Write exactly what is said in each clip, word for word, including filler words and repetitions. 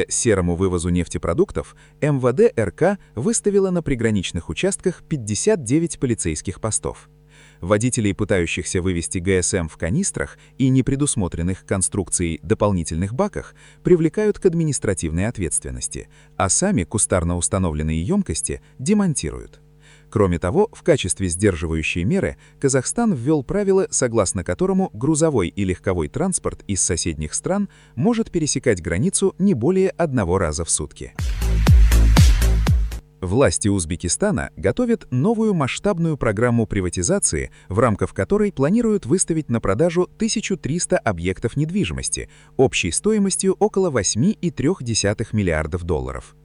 Серому вывозу нефтепродуктов эм вэ дэ эр ка выставила на приграничных участках пятьдесят девять полицейских постов. Водителей, пытающихся вывести гэ эс эм в канистрах и не предусмотренных конструкцией дополнительных баках, привлекают к административной ответственности, а сами кустарно установленные емкости демонтируют. Кроме того, в качестве сдерживающей меры Казахстан ввел правило, согласно которому грузовой и легковой транспорт из соседних стран может пересекать границу не более одного раза в сутки. Власти Узбекистана готовят новую масштабную программу приватизации, в рамках которой планируют выставить на продажу тысячу триста объектов недвижимости общей стоимостью около восемь целых три десятых миллиардов долларов.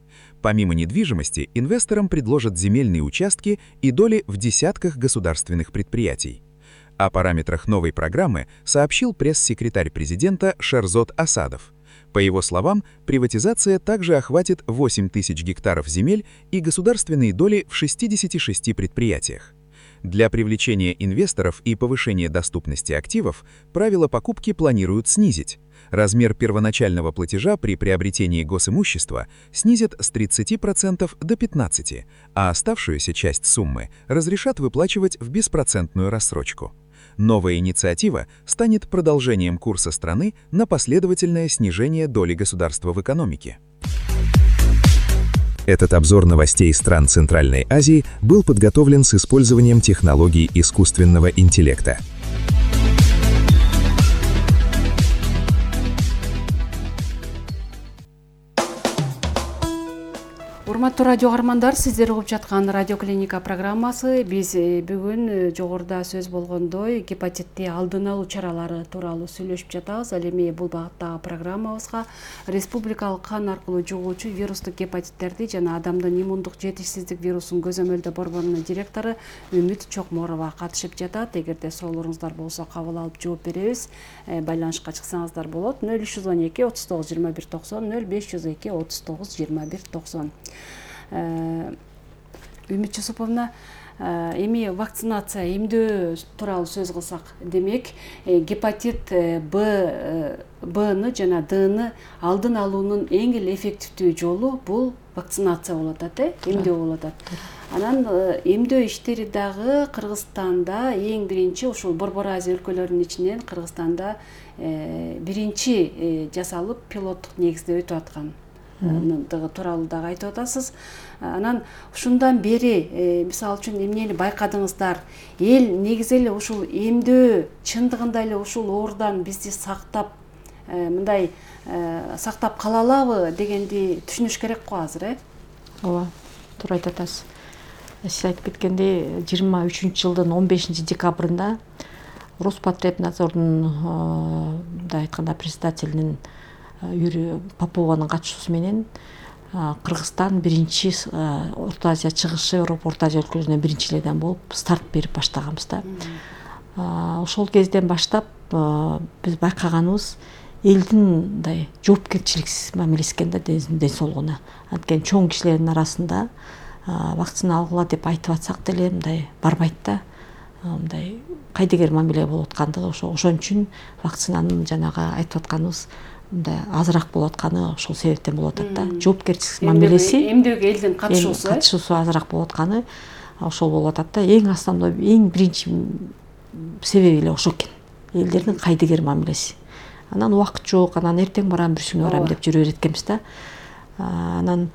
Помимо недвижимости, инвесторам предложат земельные участки и доли в десятках государственных предприятий. О параметрах новой программы сообщил пресс-секретарь президента Шерзод Асадов. По его словам, приватизация также охватит восемь тысяч гектаров земель и государственные доли в шестидесяти шести предприятиях. Для привлечения инвесторов и повышения доступности активов правила покупки планируют снизить. Размер первоначального платежа при приобретении госимущества снизят с тридцати процентов до пятнадцати процентов, а оставшуюся часть суммы разрешат выплачивать в беспроцентную рассрочку. Новая инициатива станет продолжением курса страны на последовательное снижение доли государства в экономике. Этот обзор новостей стран Центральной Азии был подготовлен с использованием технологий искусственного интеллекта. Урматтуу радио каармандар, сиздер угуп жаткан радио клиника программасы. Биз бүгүн жогоруда сөз болгондой гепатитти алдын алуу чаралары тууралуу сүйлөшүп жатабыз. Ал эми бул багыттагы программабызга республикалык кан аркылуу жугуучу вирустук гепатиттерди жана адамдын иммундук жетишсиздик вирусун көзөмөлдөө борборунун директору Үмүт Чокморова катышып жатат. Эгерде суроолоруңуздар болсо кабыл алып жооп беребиз. Байланышка чыксаңыздар болот. ноль үч жүз он эки отуз тогуз жыйырма бир токсон, ноль беш жүз эки отуз тогуз жыйырма бир токсон. Үмүт Жусуповна, эми вакцинация, эмдөө тууралуу сөз кылсак, демек гепатит Б, Бны жана Дны алдын алуунун эң эле эффективдүү жолу бул вакцинация болуп атат, э, эмдөө болуп атат. Анан эмдөө иштери дагы Кыргызстанда эң биринчи ушул Борбор Азия өлкөлөрүнүн ичинен Кыргызстанда биринчи жасалып пилоттук негизде өтүп аткан тууралуу дагы айтып атасыз. Анан ушундан бери мисалы үчүн эмнени байкадыңыздар? Эл негизи эле ушул эмдөө чындыгында эле ушул оорудан бизди сактап, мындай сактап кала алабы дегенди түшүнүш керек го азыр, э? Ооба, туура айтып атасыз. Сиз айтып кеткендей, жыйырма үчүнчү жылдын он бешинчи декабрында Роспотребнадзордун мындай айтканда председателинин Юрий Попованын катышуусу менен Кыргызстан биринчи Орто Азия чыгышы, Европа Орто Азия өлкөлөрүнөн биринчи эледен болуп старт берип баштаганбыз да. Ошол кезден баштап биз байкаганыбыз элдин мындай жоопкерчиликсиз мамилеси экен да ден соолугуна. Анткени чоң кишилердин арасында вакцина алгыла деп айтып атсак деле мындай барбайт да. Мындай кайдыгер мамиле болуп аткандыгы ошо ошон үчүн вакцинанын жанагы айтып атканыбыз мындай азыраак болуп атканы ошол себептен болуп атат да. Жоопкерчилик мамилеси, эмдөөгө элдин катышуусу, катышуусу азыраак болуп атканы ошол болуп атат да. Эң основной, эң биринчи себеби эле ошол экен. Элдердин кайдыгер мамилеси. Анан убакыт жок, анан эртең барам, бүрсүнө барам деп жүрө берет экенбиз да. Анан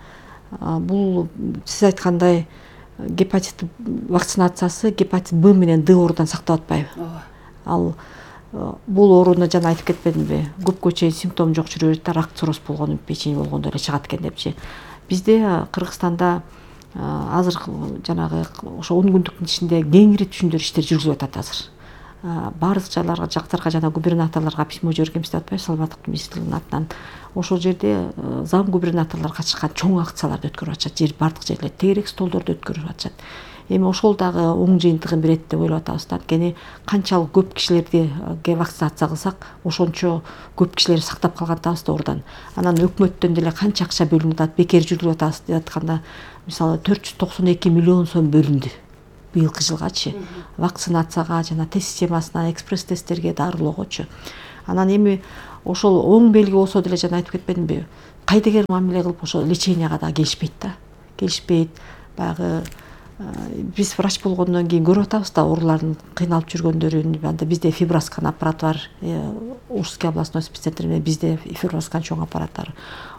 бул сиз айткандай гепатит вакцинациясы гепатит Б менен Д оорудан сактап атпайбы? Ал бул ооруну жана айтып кетпедимби? Көпкө чейин симптом жок жүрө берет да, рак цирроз болгону, печень болгондо эле чыгат экен депчи. Бизде Кыргызстанда азыр жанагы ошо он күндүктүн ичинде кеңири түшүндүрүү иштери жүргүзүлүп атат азыр. Баардык жайларга, жактарга жана губернаторлорго письмо жибергенбиз деп атпайбы, саламаттык министрлигинин атынан. Ошол жерде зам губернаторлор катышкан чоң акцияларды өткөрүп атышат, жер баардык жерлерде тегерек столдорду өткөрүп атышат. Эми ошол дагы оң жыйынтыгын берет деп ойлоп атабыз да. Анткени канчалык көп кишилерди вакцинация кылсак, ошончо көп кишилерди сактап калгантабыз да оорудан. Анан өкмөттөн деле канча акча бөлүнүп атат, бекер жүргүзүп атабыз деп атканда, мисалы төрт жүз токсон эки миллион сом бөлүндү быйылкы жылгачы. Вакцинацияга жана тест системасына, экспресс тесттерге, дарылоогочу. Анан эми ошол оң белги болсо деле жана айтып кетпедимби? кайдыгер мамиле кылып ошо леченияга да келишпейт да келишпейт баягы биз врач болгондон кийин көрүп атабыз да оорулардын кыйналып жүргөндөрүн. Анда бизде фиброскан аппараты бар, Ужский областной спеццентринде бизде фиброскан чоң аппарат бар.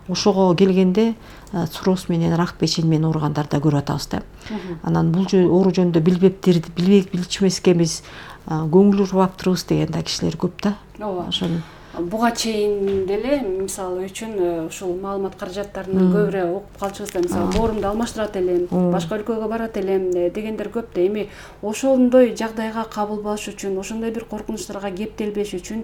Ошого келгенде цирроз менен рак печень менен ооругандарды да көрүп атабыз да. Анан бул оору жөнүндө билбептир, билбек билчүмескенбиз, көңүл урбаптырбыз деген да кишилер көп да. Ооба. Ошону буга чейин деле мисалы үчүн ушул маалымат каражаттарын көбүрөөк окуп калчубуз да. Мисалы боорумду алмаштырат элем, башка өлкөгө барат элем дегендер көп да. Эми ошондой жагдайга кабылбаш үчүн, ошондой бир коркунучтарга кептелбеш үчүн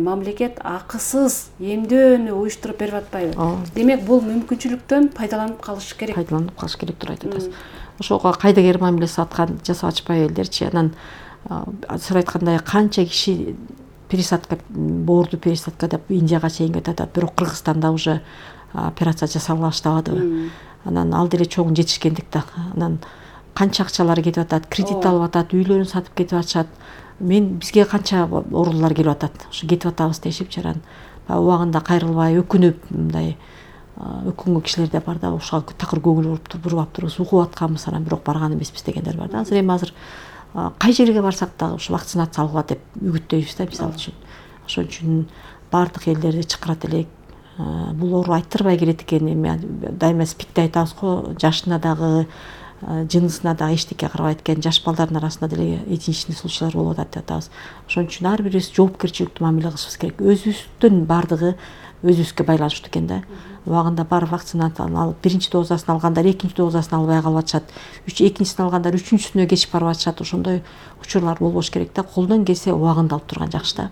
мамлекет акысыз эмдөөнү уюштуруп берип атпайбы? Демек бул мүмкүнчүлүктөн пайдаланып калыш керек. Пайдаланып калыш керек деп айтып атасыз. Ошого кайдыгер мамилеси аткан жасап атышпайбы элдерчи? Анан сиз айткандай канча киши пересадка, боорду пересадка деп Индияга чейин кетип атат, бирок Кыргызстанда уже операция жасала баштабадыбы. Анан ал деле чоң жетишкендик да. Анан канча акчалар кетип атат, кредит алып атат, үйлөрүн сатып кетип атышат. Мен бизге канча оорулар келип атат, ошо кетип атабыз дешипчи анан убагында кайрылбай өкүнүп мындай өкүнгөн кишилер да бар да. Ошого такыр көңүл буруп бурбап турбуз, угуп атканбыз, анан бирок барган эмеспиз дегендер бар да. Азыр эми азыр кай жерге барсак да ушу вакцинация алгыла деп үгүттөйбүз да мисалы үчүн. Ошон үчүн баардык элдерди чакырат элек. Бул оору айттырбай келет экен. Эми дайыма спидти айтабыз го, жашына дагы, жынысына дагы эчтеке карабайт экен. Жаш балдардын арасында деле единичный случайлар болуп атат деп атабыз. Ошон үчүн ар бирибиз жоопкерчиликтүү мамиле кылышыбыз керек. Өзүбүздүн баардыгы өзүбүзгө байланыштуу экен да. Убагында бар вакцинацияны алып, биринчи дозасын алгандар экинчи дозасын албай калып атышат. Үч экинчисин алгандар үчүнчүсүнө кечип барып атышат. Ошондой учурлар болбош керек да. Колдон келсе убагында алып турган жакшы да.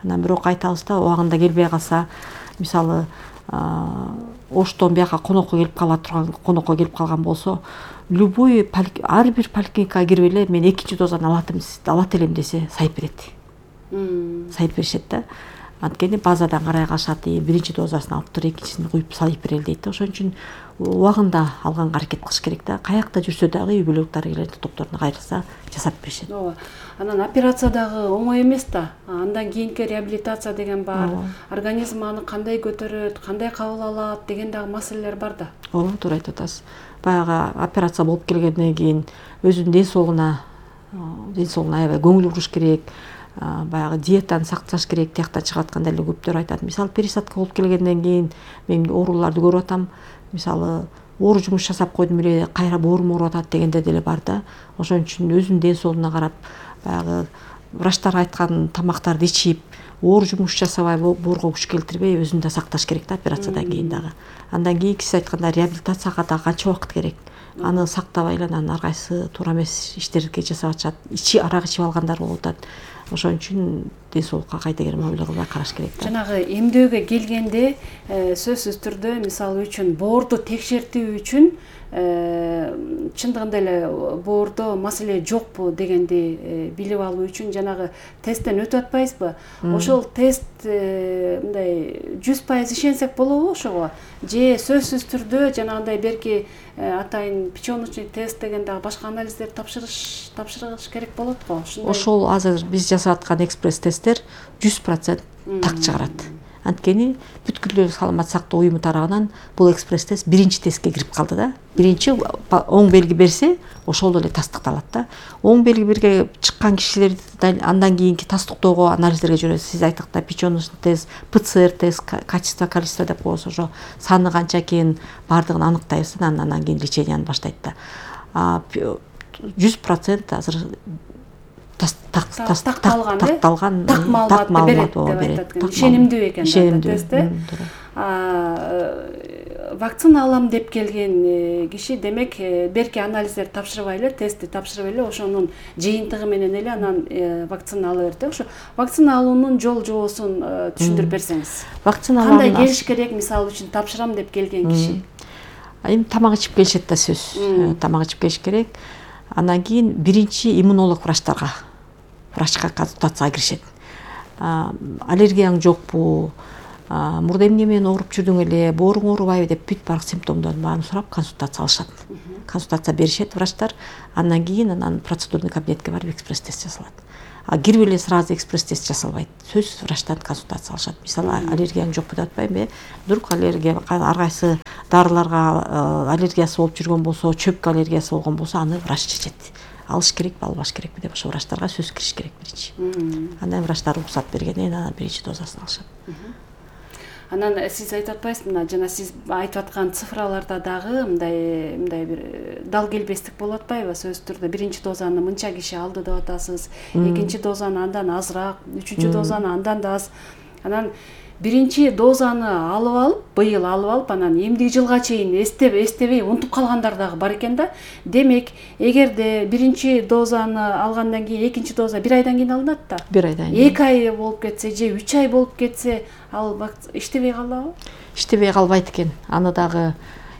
Анан бирок айтабыз да, убагында келбей калса, мисалы, Оштон бияка конокко келип кала турган, конокко келип калган болсо, любой ар бир поликлиникага кирип эле мен экинчи дозаны алатым, алат элем десе сайып берет. Сайып беришет да. Анткени базадан карай калышат, биринчи дозасын алып тур, экинчисин куюп салып берели дейт. Ошон үчүн убагында алганга аракет кылыш керек да. Каякта жүрсө дагы үй бүлөлүк дарыгерлердин топторуна кайрылса жасап беришет. Ооба. Анан операция дагы оңой эмес да. Андан кийинки реабилитация деген бар. Организм аны кандай көтөрөт, кандай кабыл алат деген дагы маселелер бар да. Ооба, туура айтып атасыз. Баягы операция болуп келгенден кийин өзүнүн ден соолугуна, ден соолугуна аябай көңүл буруш керек. Баягы диетаны сакташ керек. Тияктан чыгып атканда эле көптөр айтат. Мисалы пересадка болуп келгенден кийин мен ооруларды көрүп атам. Мисалы оору жумуш жасап койдум эле, кайра боорум ооруп атат дегендер деле бар да. Ошон үчүн өзүнүн ден соолугуна карап, баягы врачтар айткан тамактарды ичип, оору жумуш жасабай, боорго күч келтирбей өзүн да сакташ керек да операциядан кийин дагы. Андан кийин сиз айткандай реабилитацияга да канча убакыт керек. Аны сактабай эле анан ар кайсы туура эмес иштерди жасап атышат. Ичи арак ичип алгандар болуп атат. Ошон үчүн ден соолукка кайдыгер мамиле кылбай караш керек да. Жанагы эмдөөгө келгенде сөзсүз түрдө мисалы үчүн боорду текшертүү үчүн чындыгында эле боордо маселе жокпу дегенди билип алуу үчүн жанагы тесттен өтүп атпайбызбы? Ошол тест мындай жүз пайыз ишенсек болобу ошого? Же сөзсүз түрдө жанагындай берки атайын печёночный тест деген дагы башка анализдер тапшырыш тапшырыш керек болот го. Ошол азыр биз жасап аткан экспресс тесттер жүз процент так чыгарат. Анткени бүткүл саламат сактоо уюму тарабынан бул экспресс тест биринчи тестке кирип калды да. Биринчи оң белги берсе, ошол эле тастыкталат да. Оң белги берге чыккан кишилерди андан кийинки тастыктоого анализдерге жиберет. Сиз айткандай печёночный тест, ПЦР тест, качество, количество деп коебуз, ошо саны канча экенин баардыгын аныктайбыз, андан кийин леченияны баштайт да. жүз процент азыр такталган, такталган, так маалымат берет. Ишенимдүү экен тест. Вакцина алам деп келген киши демек берки анализдер тапшырбай эле, тестти тапшырып эле, ошонун жыйынтыгы менен эле анан вакцина ала берет. Ошо вакцина алуунун жол жобосун түшүндүрүп берсеңиз. Вакцина кандай келиш керек, мисалы үчүн тапшырам деп келген киши? Эми тамак ичип келишет да сөз. Тамак ичип келиш керек. Андан кийин биринчи иммунолог врачтарга, врачка консультацияга киришет. Аллергияң жокпу, мурда эмне менен ооруп жүрдүң эле, бооруң оорубайбы деп бүт баардык симптомдордун баарын сурап консультация алышат. Консультация беришет врачтар. Андан кийин анан процедурный кабинетке барып экспресс тест жасалат. а кирип эле сразу экспресс тест жасалбайт. Сөзсүз врачтан консультация алышат. Мисалы аллергияң жокпу деп атпайм э. Вдруг аллергия ар кайсы дарыларга аллергиясы болуп жүргөн болсо, чөпкө аллергиясы болгон болсо, аны врач чечет. Алыш керекпи, албаш керекпи деп ошо врачтарга сөз кириш керек биринчи. Андан врачтар уруксат бергенден кийин анан биринчи дозасын алышат. Анан сиз айтып атпайсызбы, мына жана сиз айтып аткан цифраларда дагы мындай мындай бир дал келбестик болуп атпайбы? Сөзсүз түрдө биринчи дозаны мынча киши алды деп атасыз, экинчи дозаны андан азыраак, үчүнчү дозаны андан да аз. Анан биринчи дозаны алып алып, быйыл алып алып, анан эмдиги жылга чейин эстеп, эстебей унутуп калгандар дагы бар экен да. Демек, эгерде биринчи дозаны алгандан кийин экинчи доза бир айдан кийин алынат да. бир айдан кийин. эки ай болуп кетсе же үч ай болуп кетсе, ал иштебей калабы? Иштебей калбайт экен. Аны дагы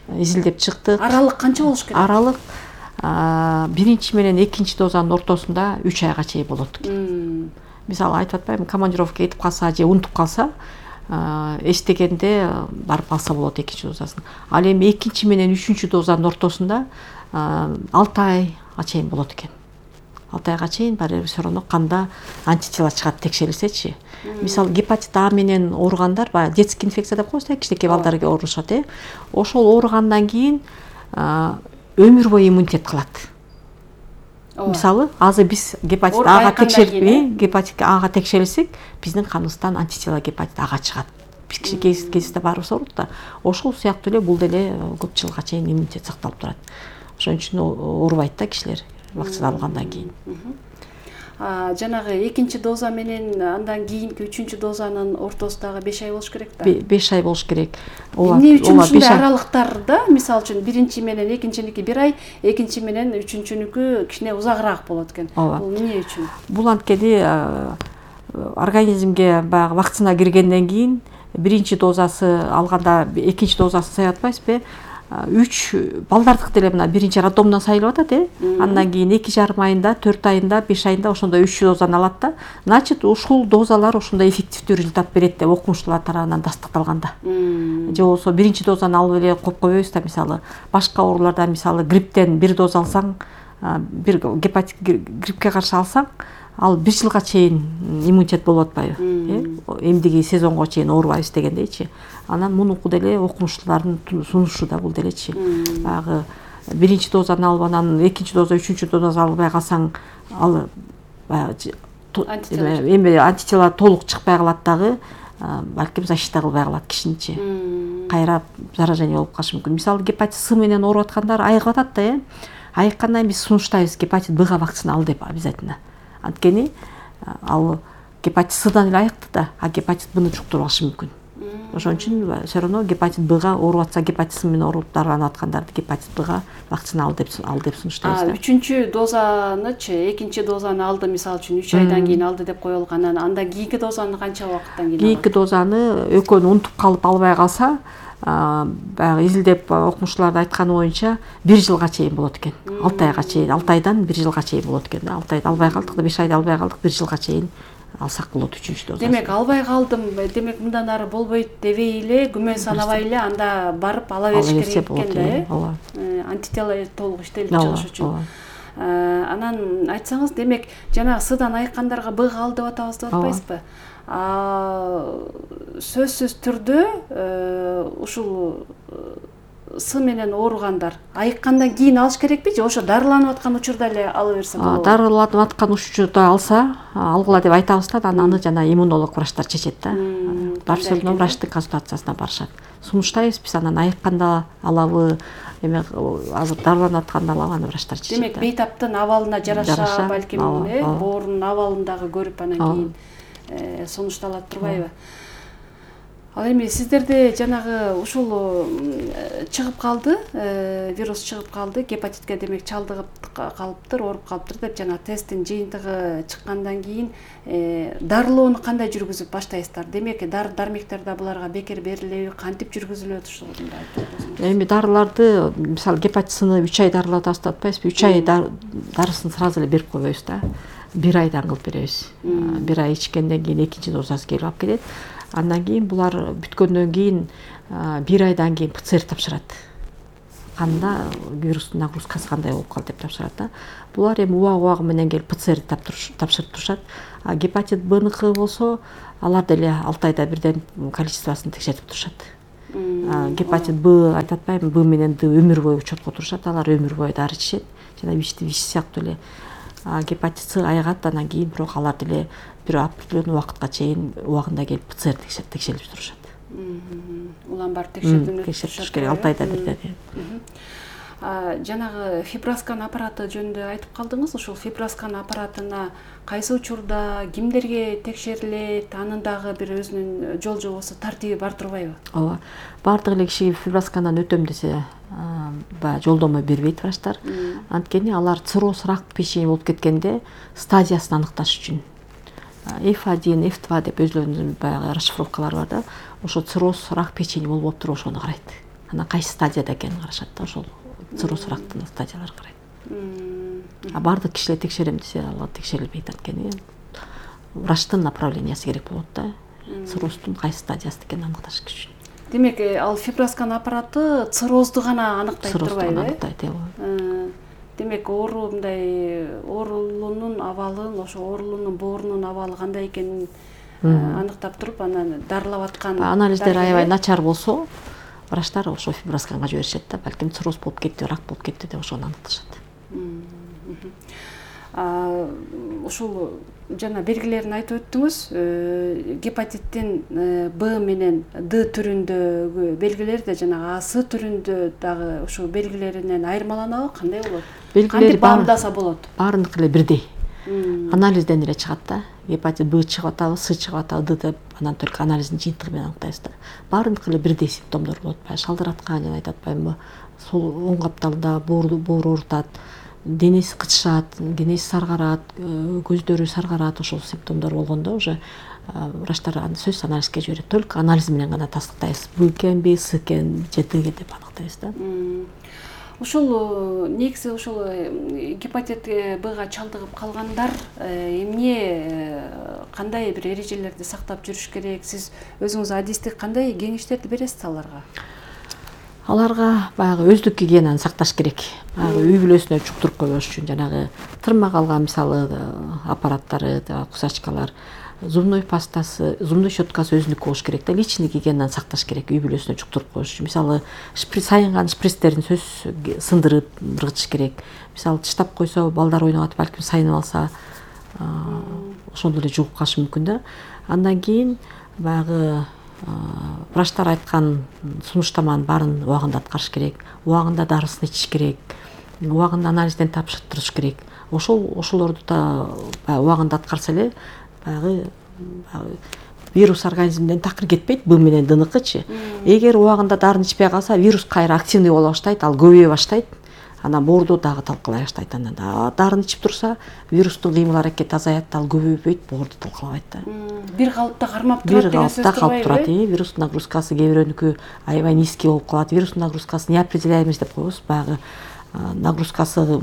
изилдеп чыктык. Аралык канча болуш керек? Аралык биринчи менен экинчи дозанын ортосунда үч айга чейин болот экен. Мисалы айтып атпаймынбы, командировка кетип калса же унутуп калса, эстегенде барып алса болот экинчи дозасын. Ал эми экинчи менен үчүнчү дозанын ортосунда алты айга чейин болот экен. алты айга чейин баары бир все равно канда антитела чыгат текшерилсечи. Мисалы гепатит А менен ооругандар, баягы детский инфекция деп коебуз да, кичинекей балдарга оорушат э. Ошол ооругандан кийин өмүр бою иммунитет калат. Мисалы, азыр биз гепатит Ага текшерип, гепатит Ага текшерилсек, биздин каныбыздан антитела гепатит Ага чыгат. Биз кичинекей кезинде баарыбыз оорут да. Ошол сыяктуу эле бул деле көп жылга чейин иммунитет сакталып турат. Ошон үчүн оорубайт да кишилер вакцина алгандан кийин. Жанагы экинчи доза менен андан кийинки үчүнчү дозанын ортосундагы беш ай болуш керек да. беш ай болуш керек. Эмне үчүн ушундай аралыктарда, мисалы үчүн биринчи менен экинчиники бир ай, экинчи менен үчүнчүнүкү кичине узагыраак болот экен. Бул эмне үчүн? Бул анткени организмге баягы вакцина киргенден кийин биринчи дозасы алганда экинчи дозасын саябы атпайсызбы? үч балдардык деле мына биринчи роддомдон сайылып атат э. Андан кийин эки жарым айында, төрт айында, беш айында ошондой үч дозаны алат да. Значит, ушул дозалар ошондой эффективдүү результат берет деп окумуштуулар тарабынан тастыкталган да. Же болбосо биринчи дозаны алып эле коюп койбойбуз да, мисалы, башка ооруларда, мисалы, грипптен бир доза алсаң, бир гепатит гриппке каршы алсаң, ал бир жылга чейин иммунитет болуп атпайбы? Эмдиги сезонго чейин оорубайбыз дегендейчи. Анан мунуку деле окумуштуулардын сунушу да бул делечи. Баягы биринчи дозаны алып анан экинчи доза, үчүнчү доза албай калсаң, ал эми антитела толук чыкпай калат дагы, балким защита кылбай калат кишиничи. Кайра заражение болуп калышы мүмкүн. Мисалы, гепатит С менен ооруп аткандар айыгып атат да, э. Айыккандан кийин биз сунуштайбыз гепатит Бга вакцина ал деп обязательно. Анткени ал гепатит Сдан эле айыкты да, а гепатит Бны жуктуруп алышы мүмкүн. Ошон үчүн все равно гепатит Бга ооруп атса, гепатит С менен ооруп дарыланып аткандарды гепатит Бга вакцина ал деп ал деп сунуштайбыз да. Үчүнчү дозанычы, экинчи дозаны алды, мисалы үчүн үч айдан кийин алды деп коюлган. Андан кийинки дозаны канча убакыттан кийин? Кийинки дозаны экөөнү унутуп калып албай калса, баягы изилдеп окумуштууларды айтканы боюнча бир жылга чейин болот экен. алты айга чейин, алты айдан бир жылга чейин болот экен да. алты айда албай калдык да, беш айда албай калдык, бир жылга чейин алсак болот үчүнчү дозасын. Демек, албай калдым, демек мындан ары болбойт дебей эле, күмөн санабай эле анда барып ала бериш керек экен да, э? Ооба. Антитела толук иштелип чыгыш үчүн. Анан айтсаңыз, демек, жана Сдан айыккандарга Бга ал деп атабыз деп атпайсызбы? Сөзсүз түрдө ушул С менен ооругандар айыккандан кийин алыш керекпи же ошо дарыланып аткан учурда эле ала берсе болобу? Дарыланып аткан учурда алса, алгыла деп айтабыз да, анан аны жана иммунолог врачтар чечет да. Бар все равно врачтын консультациясына барышат. Сунуштайбыз биз, анан айыкканда алабы, эме азыр дарыланып атканда алабы, аны врачтар чечет. Демек, бейтаптын абалына жараша, балким оорунун абалын дагы көрүп анан кийин сунушталат турбайбы? Ал эми сиздерде жанагы ушул чыгып калды, вирус чыгып калды, гепатитке демек чалдыгып калыптыр, ооруп калыптыр деп жана тесттин жыйынтыгы чыккандан кийин дарылоону кандай жүргүзүп баштайсыздар? Демек, дары-дармектер да буларга бекер берилеби, кантип жүргүзүлөт ушуну айтып? Эми дарыларды, мисалы, гепатит Сны үч ай дарылап атпайсызбы? үч ай дарысын сразу эле берип койбойбуз да. бир айдан кылып беребиз. бир ай ичкенден кийин экинчи дозасы келип алып келет. Андан кийин булар бүткөндөн кийин бир айдан кийин ПЦР тапшырат. канда вирустун нагрузкасы кандай болуп калды деп тапшырат да. Булар эми убак убагы менен келип ПЦР тапшырып турушат. А гепатит Бныкы болсо алар деле алты айда бирден количествосын текшертип турушат. Гепатит Б айтып атпаймынбы, Б менен Д өмүр бою учетко турушат, алар өмүр бою дары ичишет. Жана ВИЧ ВИЧ сыяктуу эле. Гепатит С айгат, анан кийин бирок алар деле бир определенный убакытка чейин убагында келип ПЦР текшерип турушат. Улам бар текшердиңер. Текшерип туруш керек алты айда бирден. Жанагы фиброскан аппараты жөнүндө айтып калдыңыз. Ушул фиброскан аппаратына кайсы учурда кимдерге текшерилет, анын дагы бир өзүнүн жол жобосу, тартиби бар турбайбы? Ооба. Бардык эле кишиге фиброскандан өтөм десе, баягы жолдомо бербейт врачтар. Анткени алар цирроз, рак печени болуп кеткенде стадиясын аныкташ үчүн эф один, эф два деп өзлөрүнүн баягы расшифровкалары бар да. Ошо цирроз, рак печени болуп отуруп ошону карайт. Анан кайсы стадияда экенин карашат да, ошол цирроз рактын стадияларын карайт. А бардык кишилер текшерем десе, алар текшерилбейт, анткени врачтын направлениясы керек болот да. Цирроздун кайсы стадиясында экенин аныкташ үчүн. Демек, ал фиброскан аппараты циррозду гана аныктайт турбайбы? Аныктайт, ооба. Демек, оору мындай оорулуунун абалын, ошо оорулуунун боорунун абалы кандай экенин аныктап туруп, анан дарылап аткан анализдер аябай начар болсо, врачтар ошо фибросканга жиберишет да, балким цирроз болуп кетти, рак болуп кетти деп ошону аныкташат. Ушул жана белгилерин айтып өттүңүз. Гепатиттин Б менен Д түрүндөгү белгилер да жана А С түрүндө дагы ушул белгилеринен айырмаланабы, кандай болот? Кантип баамдаса болот? Баарыныкы эле бирдей. Анализден эле чыгат да. Гепатит Б чыгып атабы, С чыгып атабы, Д деп анан только анализдин жыйынтыгы менен аныктайбыз да. Баарыныкы эле бирдей симптомдор болот. Баягы шалдыраткан, жана айтып атпаймынбы, сол оң капталда боору оорутат, денеси кычышат, денеси саргарат, көздөрү саргарат, ошол симптомдор болгондо уже врачтар аны сөзсүз анализге жиберет. Только анализ менен гана тастыктайбыз. Б экенби, С экен, же Д деп аныктайбыз да. Ушул негизи ушул гепатит Бга чалдыгып калгандар эмне, кандай бир эрежелерди сактап жүрүш керек? Сиз өзүңүз адистик кандай кеңештерди бересиз аларга? Аларга баягы өздүк гигиенаны сакташ керек. Баягы үй бүлөсүнө чуктуруп койбош үчүн жанагы тырмак алган мисалы аппараттары, кусачкалар, зубной пастасы, зубной щеткасы өзүнүкү болуш керек да, личный гигиенаны сакташ керек үй бүлөсүнө чуктуруп коюш үчүн. Мисалы, сайынган шприцтерин сөзсүз сындырып ыргытыш керек. Мисалы, тыштап койсо, балдар ойноп атып балким сайынып алса, ошондо эле жугуп калышы мүмкүн да. Андан кийин баягы врачтар айткан сунуштаманын баарын убагында аткарыш керек, убагында дарысын ичиш керек, убагында анализден тапшыртырыш керек. Ошол ошолорду да убагында аткарса эле баягы вирус организмден такыр кетпейт, Б менен Дныкычы. Эгер убагында дарын ичпей калса, вирус кайра активный боло баштайт, ал көбөйө баштайт. Анан боорду дагы талкалай баштайт. Анан дарын ичип турса, вирустун кыймыл аракети азаят, ал көбөйбөйт, боорду талкалабайт да. Бир калыпта кармап турат деген сөз турбайбы? Бир калыпта калып турат. Вирустун нагрузкасы кээ бирөөнүкү аябай низкий болуп калат. Вирустун нагрузкасын неопределяемость деп коебуз. Баягы нагрузкасы,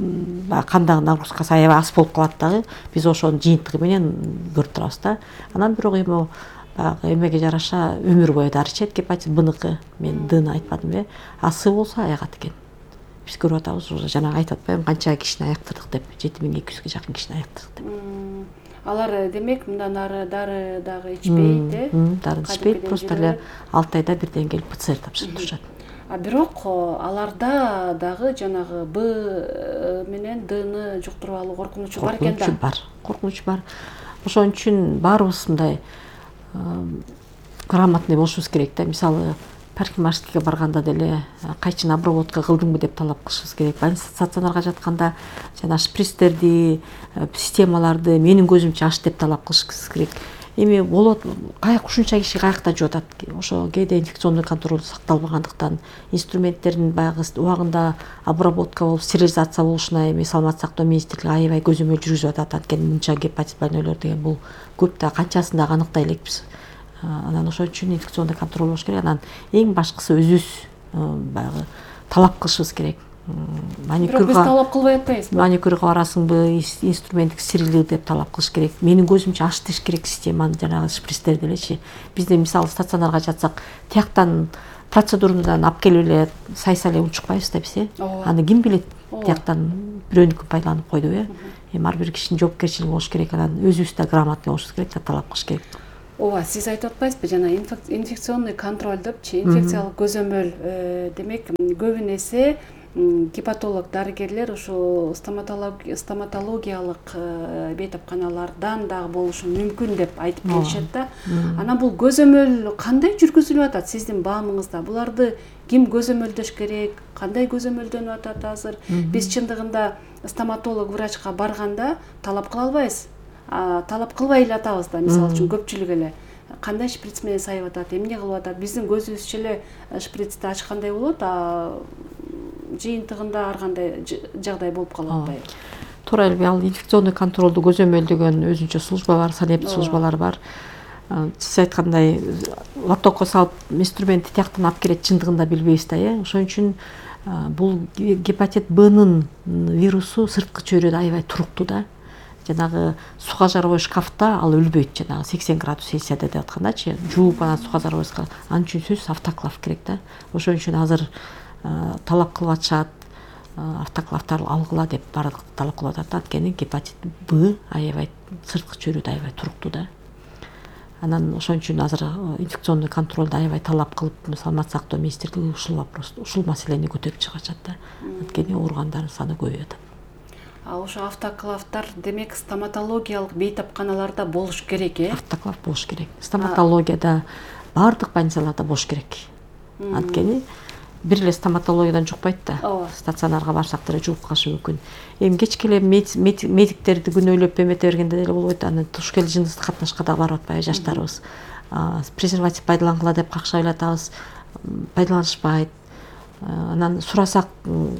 кандагы нагрузкасы аябай аз болуп калат дагы. Биз ошонун жыйынтыгы менен көрүп турабыз да. Анан бирок эми баягы эмеге жараша өмүр бою дары ичет. Гепатит Бныкы, мен Дны айтпадымбы, А С болсо аягат экен. Биз көрүп атабыз, уже жана айтып атпаймынбы, канча кишини аяктырдык деп, жети миң эки жүзгө жакын кишини аяктырдык деп. Алар демек мындан ары дары дагы ичпейт, э? Дары ичпейт, просто эле алты айда бирден келип ПЦР тапшырып турушат. А бирок аларда дагы жанагы Б менен Дны жуктуруп алуу коркунучу бар экен да. Бар, коркунучу бар. Ошон үчүн баарыбыз мындай грамотный болушубуз керек да. Мисалы, парикмахерскийге барганда деле кайчын обработка кылдыңбы деп талап кылышыбыз керек. Стационарга жатканда жана шприцтерди, системаларды менин көзүмчө аш деп талап кылышыбыз керек. Эми болот, каяк ушунча киши каякта жуп атат. Ошо кээде инфекционный контроль сакталбагандыктан, инструменттердин баягы убагында обработка болуп, стерилизация болушуна эми саламаттык сактоо министрлиги аябай көзөмөл жүргүзүп атат. Анткени мынча гепатит больнойлор деген бул көп да, канчасын дагы аныктай элекпиз. Анан ошон үчүн инфекционный контроль болуш керек. Анан эң башкысы өзүбүз баягы талап кылышыбыз керек. Маникюрга биз талап кылбай атпайбызбы? Маникюрга барасыңбы, инструменттик стерилдүү деп талап кылыш керек. Менин көзүмчө аш деш керек системаны, жанагы шприцтерди элечи. Бизде мисалы стационарга жатсак, тияктан процедурадан алып келип эле сайса эле унчукпайбыз да биз, э аны ким билет, тияктан бирөөнүкүн пайдаланып койдуп, э эми ар бир кишинин жоопкерчилиги болуш керек, анан өзүбүз да грамотный болушубуз керек да, талап кылыш керек. Ооба, сиз айтып атпайсызбы жана инфекционный контроль депчи, инфекциялык көзөмөл, демек көбүн эсе гепатолог дарыгерлер ушу стоматологиялык бейтапканалардан дагы болушу мүмкүн деп айтып келишет да. Анан бул көзөмөл кандай жүргүзүлүп атат сиздин баамыңызда? Буларды ким көзөмөлдөш керек? Кандай көзөмөлдөнүп атат азыр? Биз чындыгында стоматолог врачка барганда талап кыла албайбыз. Талап кылбай эле атабыз да, мисалы үчүн көпчүлүк эле кандай шприц менен сайып атат, эмне кылып атат? Биздин көзүбүзчө эле шприцти ачкандай болот, а жыйынтыгында ар кандай жагдай болуп калып атпайбы? Туура эле, ал инфекционный контролду көзөмөлдөгөн өзүнчө служба бар, санэптик службалар бар. Сиз айткандай лотокко салып инструментти тияктан алып келет, чындыгында билбейбиз да, э ошон үчүн бул гепатит Б'нын вирусу сырткы чөйрөдө аябай туруктуу да. Жанагы суга жарбой шкафта ал өлбөйт, жанагы сексен градус Цельсияда деп аткандачы, жууп анан суга жарбойска. Анын үчүн сөзсүз автоклав керек да. Ошон үчүн азыр талап кылып атышат, автоклавдар алгыла деп баардык талап кылып атат. Анткени гепатит Б аябай сырткы чөйрөдө аябай туруктуу да. Анан ошон үчүн азыр инфекционный контролду аябай талап кылып, саламаттык сактоо министрлиги ушул вопрос, ушул маселени көтөрүп чыгып атат да. Анткени ооругандардын саны көбөйүп атат. А ошо автоклавдар демек стоматологиялык бейтапканаларда болуш керек, э? Автоклав болуш керек. Стоматологияда баардык больницаларда болуш керек. Анткени бир эле стоматологиядан жукпайт да. Стационарга барсак деле жугуп калышы мүмкүн. Эми кечке эле медиктерди күнөөлөп эмете бергенде деле болбойт. Анан туш келди жыныстык катнашка да барып атпайбы жаштарыбыз. Презерватив пайдалангыла деп какшап эле атабыз, пайдаланышпайт. Анан сурасак,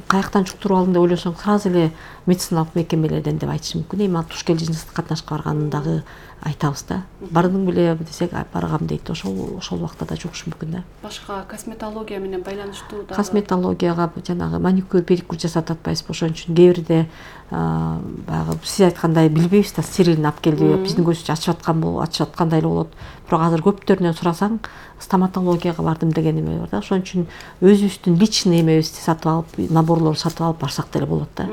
каяктан жуктуруп алдың деп ойлосоң, сразу эле медициналык мекемелерден деп айтышы мүмкүн. Эми ал туш келди жыныстык катнашка барганын дагы айтабыз да. Бардың беле десек, баргам дейт. Ошол ошол убакта да жугуш мүмкүн да. Башка косметология менен байланыштуу дагы. Косметологияга жанагы маникюр, педикюр жасап атпайбызбы? Ошон үчүн кээ бирде баягы сиз айткандай билбейбиз да, стерилин алып келди, биздин көзүбүздү ачып аткан болуп, ачып аткандай эле болот. Бирок азыр көптөрүнөн сурасаң, стоматологияга бардым деген эме бар да. Ошон үчүн өзүбүздүн личный эмебизди сатып алып, наборлорду сатып алып барсак деле болот да.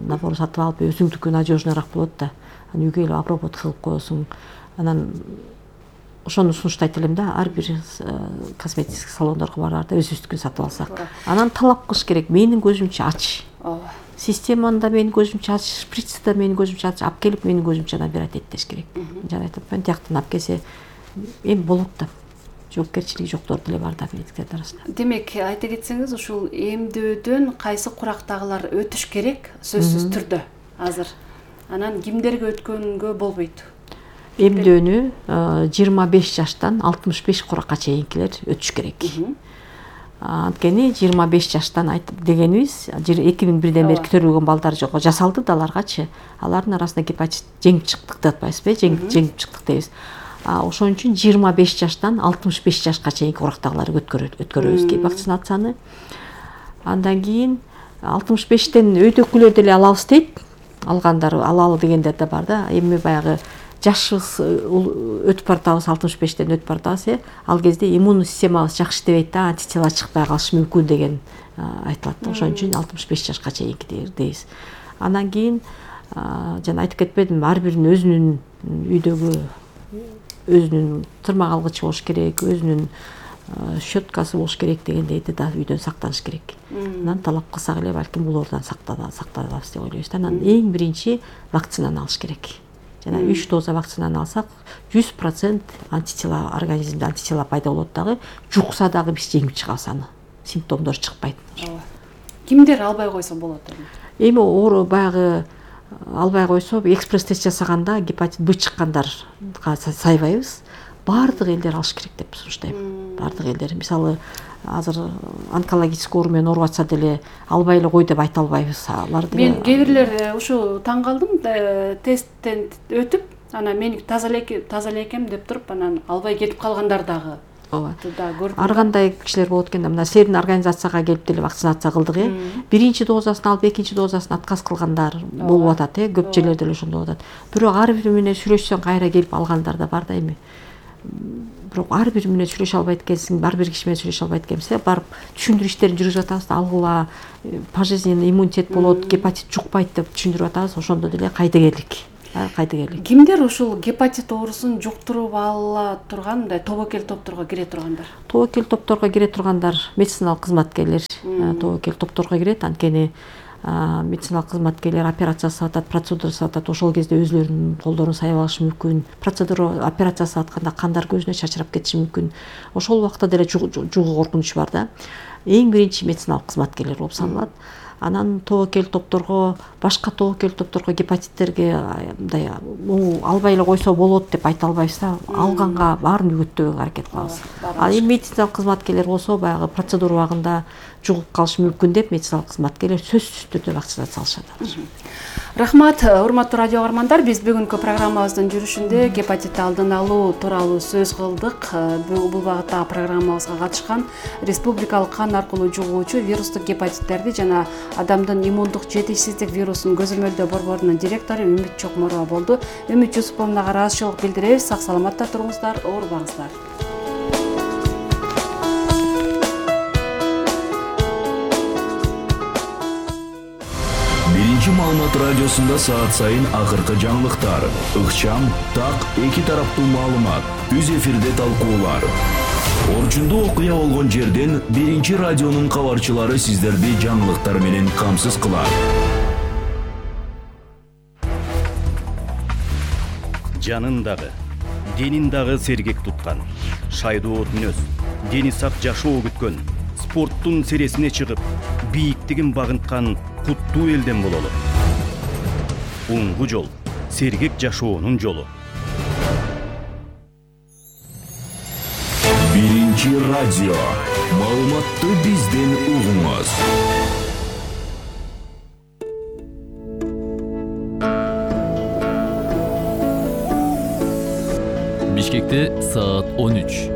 Набор сатып алып өзүңдүкү надежныйраак болот да. Анан үйгө эле обработка кылып коесуң. Анан ошону сунуштайт элем да, ар бир косметический салондорго барарда өзүбүздүкүн сатып алсак. Анан талап кылыш керек, менин көзүмчө ач. Ооба. Системаны да менин көзүмчө ач, шприцти да менин көзүмчө ач, алып келип менин көзүмчө набирать эттеш керек. Жана айтып атпаймынбы, тияктан алып келсе эми болот да. Жоопкерчилиги жоктор деле бар да медиктердин арасында. Демек, айта кетсеңиз, ушул эмдөөдөн кайсы курактагылар өтүш керек сөзсүз түрдө азыр. Анан кимдерге өткөнгө болбойт? Эмдөөнү жыйырма беш жаштан алтымыш беш куракка чейинкилер өтүш керек. Анткени жыйырма беш жаштан айтып дегенибиз, эки миң бирден бери көрүлгөн балдар жок, жасалды да аларгачы. Алардын арасында гепатит жеңип чыктык деп атпайбызбы? Жеңип чыктык дейбиз. Ошон үчүн жыйырма беш жаштан алтымыш беш жашка чейинки курактагыларды өткөрөбүз вакцинацияны. Андан кийин алтымыш бештен өйдөкүлөр деле алабыз дейт. Алгандар алалы дегендер да бар да. Эми баягы жашыбыз өтүп баратабыз, алтымыш бештен өтүп баратабыз, э. Ал кезде иммундук системабыз жакшы иштебейт да, антитела чыкпай калышы мүмкүн деген айтылат. Ошон үчүн алтымыш беш жашка чейинки дейбиз. Андан кийин жана айтып кетпедимби, ар биринин өзүнүн үйдөгү өзүнүн тырмак алгычы болуш керек, өзүнүн щеткасы болуш керек дегендейди да, үйдөн сактаныш керек. Анан талап кылсак эле балким булардан сакталабыз деп ойлойбуз да. Анан эң биринчи вакцинаны алыш керек. Жана үч доза вакцинаны алсак, жүз процент антитела, организмде антитела пайда болот дагы, жукса дагы биз жеңип чыгабыз аны. Симптомдор чыкпайт. Кимдер албай койсо болот эми? Эми оору баягы албай койсо, экспресс тест жасаганда гепатит Б чыккандарга сайбайбыз. Баардык элдер алыш керек деп сунуштайм. Баардык элдер. Мисалы, азыр онкологический оор менен ооруп атса деле албай эле кой деп айта албайбыз. Аларды мен кээ бирлер ушу таң калдым, тесттен өтүп, анан мен таза эле экем деп туруп, анан албай кетип калгандар дагы. Ооба. Ар кандай кишилер болот экен да, мына силердин организацияга келип деле вакцинация кылдык, э. Биринчи дозасын алып, экинчи дозасын отказ кылгандар болуп атат, э. Көп жерлерде эле ошондой болуп атат. Бирок ар бири менен сүйлөшсөң кайра келип алгандар да бар да эми. бирок ар бир менен сүйлөшө албайт экенсиң, ар бир киши менен сүйлөшө албайт экенбиз, барып түшүндүрүү иштерин жүргүзүп атабыз да, алгыла, пожизненный иммунитет болот, гепатит жукпайт деп түшүндүрүп атабыз. Ошондо деле кайдыгерлик, кайдыгерлик. Кимдер ушул гепатит оорусун жуктуруп ала турган мындай тобокел топторго кире тургандар? Тобокел топторго кире тургандар медициналык кызматкерлер тобокел топторго кирет. Анткени медициналык кызматкерлер операция жасап атат, процедура жасап атат, ошол кезде өзүлөрүнүн колдорун сайып алышы мүмкүн. Процедура, операция жасап атканда кандар көзүнө чачырап кетиши мүмкүн. Ошол убакта деле жугуу коркунучу бар да. Эң биринчи медициналык кызматкерлер болуп саналат. Анан тобокел топторго, башка тобокел топторго гепатиттерге мындай албай эле койсо болот деп айта албайбыз да. Алганга баарын үгүттөөгө аракет кылабыз. Ал эми медициналык кызматкерлер болсо баягы процедура убагында жугуп калышы мүмкүн деп медициналык кызматкерлер сөзсүз түрдө вакцинация алышат. Рахмат, урматтуу радио каармандар, биз бүгүнкү программабыздын жүрүшүндө гепатитти алдын алуу тууралуу сөз кылдык. Бул багыттагы программабызга катышкан республикалык кан аркылуу жугуучу вирустук гепатиттерди жана адамдын иммундук жетишсиздик вирусун көзөмөлдөө борборунун директору Үмүт Чокморова болду. Үмүт Жусуповна ыраазычылык билдиребиз. Сак саламатта туруңуздар, оорубаңыздар. Биринчи маалымат радиосунда саат сайын акыркы жаңылыктар, ыкчам, так, эки тараптуу маалымат, түз эфирде талкуулар. Орчундуу окуя болгон жерден биринчи радионун кабарчылары сиздерди жаңылыктар менен камсыз кылат. Жанын дагы, денин дагы сергек туткан, шайдоо мүнөз, дени сак жашоо күткөн, спорттун сересине чыгып, бийиктигин багынткан куттуу элден бололу. Уңгу жол, сергек жашоонун жолу. Биринчи радио. Маалыматты бизден угуңуз. Бишкекте саат он үч.